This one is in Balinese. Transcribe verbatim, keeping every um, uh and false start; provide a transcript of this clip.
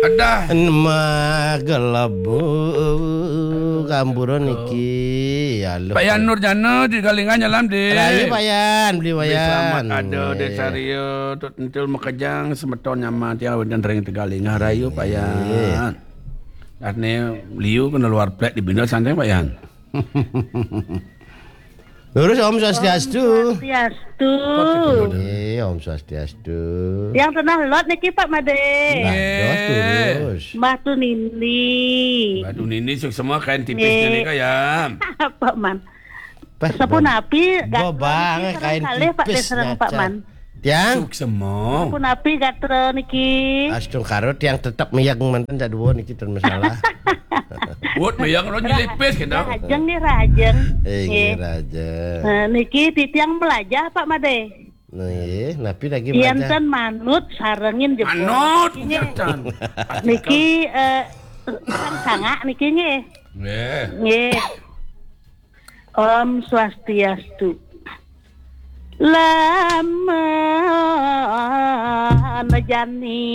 Adah. Magelebu gamburan niki. Ya, loh. Pak Yan Nurjana di Galingah nyalam, Dik. Rahayu, Pak Yan, beli Dik, Wayan. Selamat ada, Dik Saria, Tut Entil Makejang, semeton nyaman tiang wénten ring Tegalingah. Rahayu, Pak Yan. Artinya, liu kena luar plek di Bina santai, Pak Yan. Lurus, Om Swastiastu. Swastiastu. Eh, Om Swastiastu. Yang tenah lot niki, Pak Made. Lah, dos terus. Batu Nindi. Batu Nindi, suksma kain tipisnya nih, Kak, ya. Pak Man. Sapunapi, gatra niki sareng kalih, Pak, sareng Pak Man. Tiang? Suksma. Sapunapi gatra niki? Astungkara, tiang tetep meyeng manten, sak dua niki ten masalah. Wut, meyeng lo nyelipis, gitu. Rajeng nggih, rajeng. Eh, nggih, rajeng. Nah, niki titiang melajah, Pak Made. Nggih, napi lagi melajah? Yen ten manut, sarengin jebos. Manut, nggih. Niki, eh, sang sangak niki, nggih. Nggih. Nggih. Om Swastiastu. Lamun jani